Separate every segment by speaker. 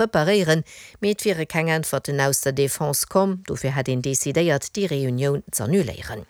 Speaker 1: preparéieren, mee et wiere keng Äntwerten aus der Defense komm. Dofir hätt een decidéiert, déi Reunioun z'annuléieren.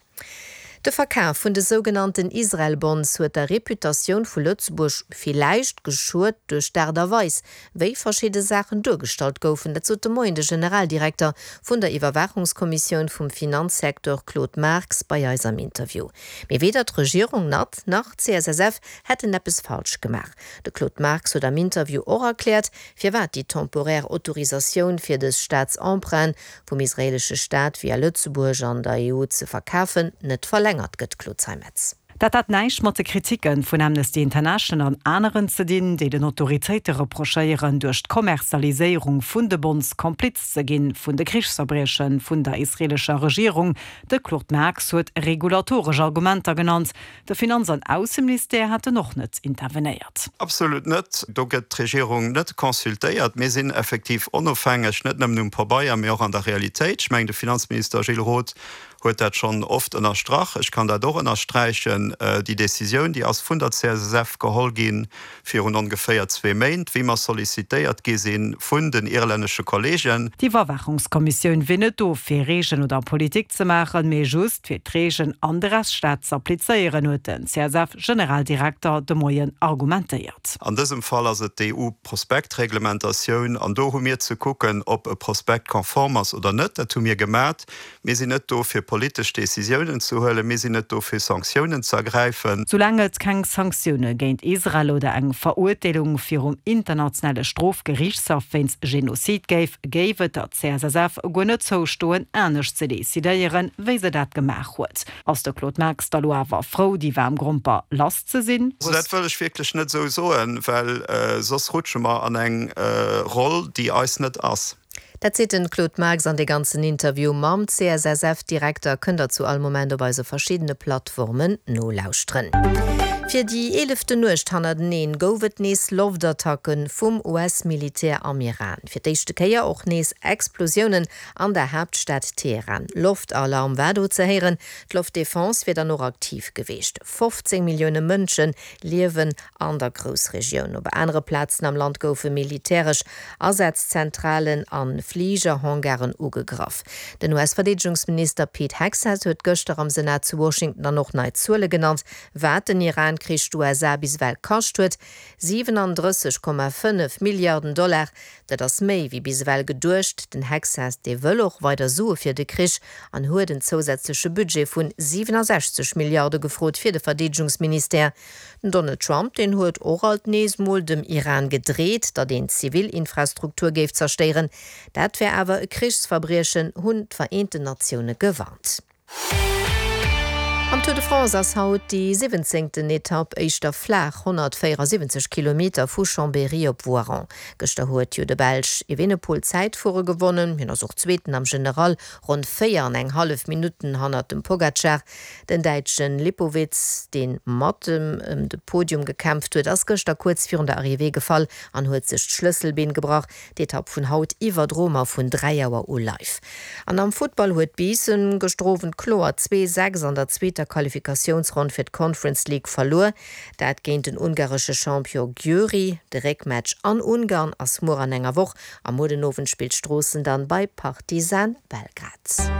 Speaker 1: De Verkaf vun de sougenannten Israel-Bonds huet der Reputatioun vu Lëtzebuerg villäicht geschuet duerch d'Aart a Weis, wéi verschidde Saachen duergestallt goufen. Dat sot de Moien de Generaldirekter vun der Iwwerwaachungskommissioun vum Finanzsecteur Claude Marx bei eis am Interview. Mee weder d'Regierung nat nach d'CSSF hätten eppes falsch gemaach. De Claude Marx huet am Interview och erkläert, firwat déi temporär Autorisatioun fir dës Staatsemprunten vum israeelesche Staat via Lëtzebuerg an der EU ze verkafen, net verlängert gëtt, Claude Zeimetz.
Speaker 2: Dat hat näischt mat de Kriticke vun Amnesty International an aneren ze dinn, déi den Autoritéite reprochéieren, duerch d'Kommerzialiséierung vun de Bonds Kompliz ze ginn vun de Krichsverbrieche vun der israeelescher Regierung. De Claude Marx huet regulatoresch Argumenter genannt, De Finanz an Ausseministère hätten och net intervenéiert.
Speaker 3: Absolut net. Do gëtt d'Regierung net consultéiert. Mir sinn effektiv onofhängeg, net nëmmen um Pabeier, mee och an der Realitéit. Ech mengen, de Finanzminister Gilles Roth huet dat schonn oft ënnerstrach. Ech kann dat och ënnersträichen. Déi Décisioun, déi ass vun der CSSF geholl gi virun ongeféier zwee Méint, wéi mer sollicitéiert gi si vun den irlännesche Kollegen.
Speaker 2: D'Iwwerwaachungskommissioun wier net do fir Reegelen oder Politik ze maachen, mee just fir d'Reegelen an de Rechtsstaat z'applizéieren, huet den CSF-Generaldirekter de Moien argumentéiert.
Speaker 3: An dësem Fall ass et d'EU-Prospektreglementatioun an do hu mir ze kucken, ob e Prospekt konform ass oder net. Dat hu mir gemat. Mir sinn net do, fir politesch Décisiounen ze huelen. Mir sinn net do, fir Sanktiounen ze ergräifen.
Speaker 2: Soulaang et keng Sanktioune géint Israel oder eng Verurteelung virum internationale Strofgeriichtshaff wéinst Genozid géif, géif et der CSSF guer net zoustoen, anescht ze decidéieren, wéi se dat gemaach huet. Ass de Claude Marx da lo awer frou, déi waarm Gromper lass ze sinn?
Speaker 3: Also dat wëll ech wierklech net esou soen, well soss rutsche mer an eng Roll, déi eis net ass.
Speaker 1: Dat seet den Claude Marx an dee ganzen Interview mam CSSF-Direkter kënnt der zu all Moment op eise verschiddene Plattformen nolauschteren. Fir déi eeleften Nuecht hannerteneen gouf et nees Loftattacke vum US-Militär am Iran. Fir d'éischte Kéier och nees Explosiounen an der Haaptstad Teheran. Loftalarm war do ze héieren, d'Loftdefense wier dann och aktiv geweecht. 15 Millioune Mënsche liewen An der Groussregioun. Op anere Plazen am Land goufe militäresch Asazzentralen a Fligerhangaren ugegraff. Den US-Verdeedegungsminister Pete Hegseth huet gëschter am Senat zu Washington dann och nei Zuele genannt, wat den Iran-Krich d'USA bis ewell kascht huet, 37,5 Milliarden Dollar. Dat ass méi wéi bis ewell geduecht. Den Hegseth, dee wëll och weider Sue fir de Krich an huet en zousätzleche Budget vun 67 Milliarde gefrot fir de Verdeedegungsministère. Den Donald Trump, deen huet och alt nees mol dem Iran gedreet, datt een zivil Infrastruktur géif zerstéieren. Dat wär awer e Krichsverbriechen, hunn d'Vereenten Natioune gewarnt. Am Tour de France ass haut déi siwwenzéngten Etapp éischter flaach, 174 Kilometer vu Chambéry op Voiron. Gëschter huet jo de Belsch Evenepoel d'Zäitfuere gewonnen. Hien ass och Zweeten am General, ronn 4 an eng hallef Minutten hannert dem Pogacar. Den Däitschen Lipowitz, dee mat ëm de Podium gekämpft huet, ass gëschter kuerz virun der Arrivée gefall an huet sech d'Schlësselbeen gebrach. D'Etapp vun haut iwwerdroe mer vun 3 Auer u live. An am Futtball huet Biissen gëschter Owend kloer 2, 6 an der zweeter Qualifikatiounsronn fir d'Conference League verluer. Dat géint den ungaresche Champion Győri. De Réckmatch an Ungarn ass muer an enger Woch a muer den Owend spillt Stroossen dann bei Partizan Belgrad.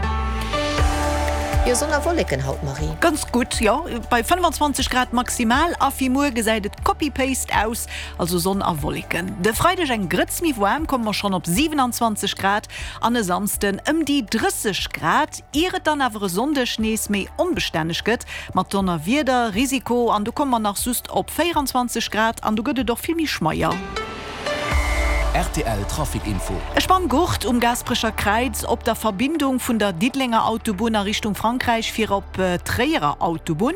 Speaker 1: Jo, Sonn a Wolleken haut, Marie.
Speaker 4: Ganz gutt, jo, bei 25 Grad maximal a fir muer gesäit et copy-paste aus, also Sonn a Wolleken. De Freideg eng Grëtz méi waarm, komme mer schonn op 27 Grad an e Samsden ëm déi 30 Grad, ier et dann awer e Sonndeg nees méi onbestänneg gëtt mat Donnerwieder Risiko an do komme mer nach just op 24 Grad an do gëtt et och vill méi schmeier.
Speaker 5: Rtl Trafic Info.
Speaker 4: E Spanngurt um Gaasperecher Kräiz op der Verbindung vun der Diddelenger Autobunn a Richtung Frankräich fir op d'Tréierer Autobunn.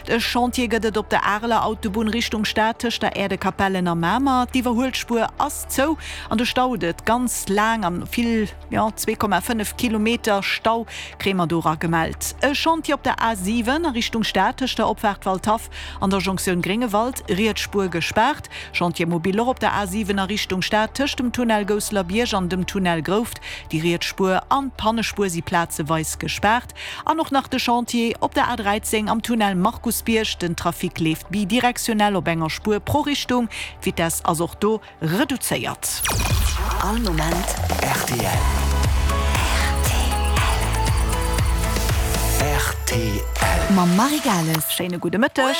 Speaker 4: E Chantier gëtt et op der Areler Autobunn Richtung Stad tëscht der Äerdekapellen a Mamer. D'Iwwerhuelspuer ass zou an do staut et ganz laang an vill, jo 2,5 Kilometer Stau kréie mer do era gemellt. E Chantier op der A7 a Richtung Stad tëscht der Opfaart Waldhaff an der Jonktioun Gréngewald, riets Spuer gespaart. Chantier mobile och op der A 7 a Richtung Stad. tëscht dem Tunnel Gousselerbierg an dem Tunnel Grouft. Déi riets Spuer an d'Pannespuer si plazeweis gespaart. An och nach de Chantier op der A13 am Tunnel Markusbierg. Den Trafic leeft bidirektionell op enger Spuer pro Richtung. D'Vitess ass och do reduzéiert.
Speaker 5: All Moment rtl. Rtl. Mam Marie Gales.
Speaker 4: Schéine gudde Mëtteg.